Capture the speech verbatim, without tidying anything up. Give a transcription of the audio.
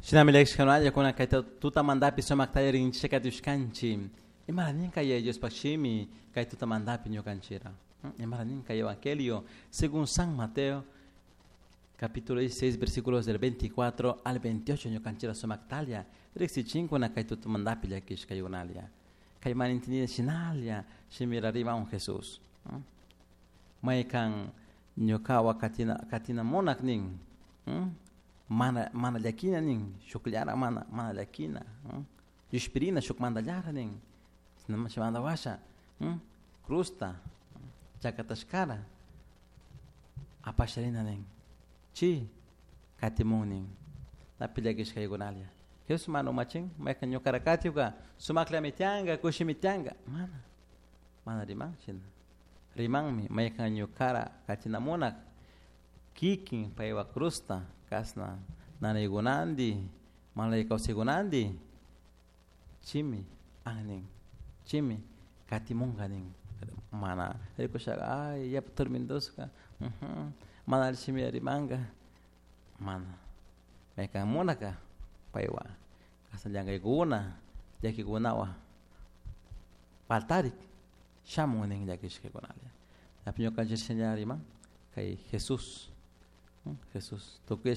Shinami llakishkanalla kuna kay tutamantapi sumakta rinchishka katushkanchik. Imara nin kay Diospaj shimi kay tutamantapi ñukanchira. Imara nin kay Evangelio según San Mateo capítulo dieciséis versículos del veinticuatro al veintiocho ñukanchira sumaktalla riksichinkuna kay tutamantapi llakishkaykunalla. Kay mana entendida shinalla shimira rimamun Jesús. Maykan ñukawa katina katina munak nin. Mana mana llakina nin, shukllara mana mana llakina, llushpirina shukmanta nin, chimanta washa, cruzta chakatashkara apasharina nin, chi katimun nin, napi llakishkaykunalla. Jesús mana umachin, maykan ñukara katiwka sumaklami tiyanka, kushimi tiyanka, mana, mana riman shina. Rimanmi maykan ñukara katina munak kikin paywa cruzta kasna nanaykunanti malay kawsaykunanti chimi an chimi katimunka nin mana rikushaqa ay yapa tormentoska mana alli shimita rimanka mana maykan munaka paywa kasna llankaykuna llakikunawan paltarik shamun nin llakishkakunalla ñukanchik shina riman kay Jesús Jesús tukuy